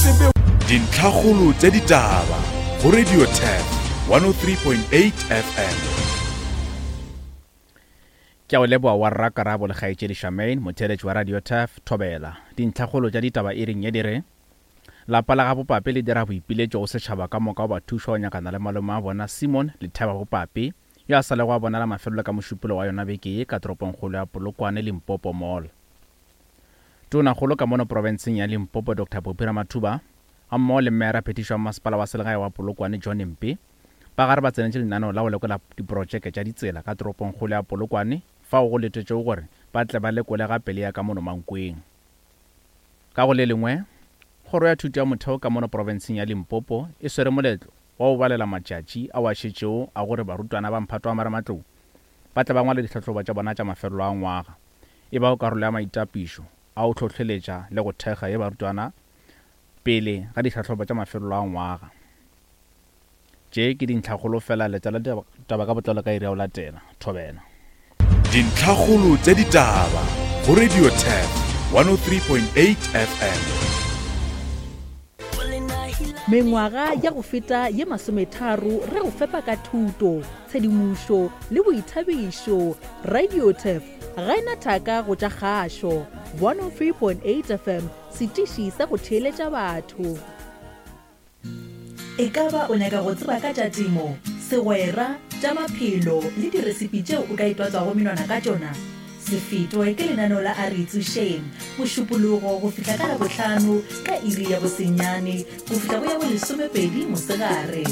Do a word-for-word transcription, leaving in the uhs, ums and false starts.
tsebe Dintlhakgolo tša ditaba go Radio Turf one oh three point eight F M. Ke a o leboa wa rra Karabo le kgaetšedi Charmaine, motheeletši wa Radio Turf, Thobela. Dintlhakgolo tša ditaba e reng ye di re, lapa la ga Bopape le dira boipiletšo go setšhaba ka moka go ba thuša go nyakana le malome a bona Simon Letheba Bopape, yo a sa lego a bonala mafelelo ka mošupolo wa yona beke ye ka toropongkgolo ya Polokwane, Limpopo Mall. Tonakgolo ka mono profenseng ya Limpopo Doctor Phophi Ramathuba gammogo le mmeara phetišo wa masepala wa selegae wa Polokwane John Mpe ba gare ba tsenetše lenaneo la go lekola diprotšeke tša ditsela ka toropongkgolo ya Polokwane fao go letetšego gore ba tle ba lekole gape le ya ka mono Mankweng. Ka go le lengwe, kgoro ya thuto ya motheo ka mono profenseng ya Limpopo e swere moletlo wa go balela matšatši ao a šetšego a gore barutwana ba mphato wa marematlou ba tle ba ngwale ditlhahlobo tša bona tša mafelelo a ngwaga, e bago karolo ya maitapišo a go hlohleletša le go thekga ye barutwana pele ga ditlhahlobo tša mafelelo a ngwaga. Tše ke dintlhakgolo fela, letela taba ka botlalo ka iri ya go latela. Thobela. Dintlhakgolo tša ditaba go Radio Turf one oh three point eight F M. Mengwaga ya go feta ye masometharo re go fepa ka thuto, tshedimošo le boithabišo. Radio Turf ga ena thaka go tša kgašo. one oh three point eight F M, setiši sa go theeletša batho. E ka ba o nyaka go tseba ka tša temo, segwera, tša maphelo le diresipi tšeo o ka itwatswago menwana ka tšona? Se fetwe ke lenaneo la A Re Itsošeng, Mošupologo go fihla ka Labohlano ka iri ya bosenyane go fihla go ya bolesomepedi mosegare.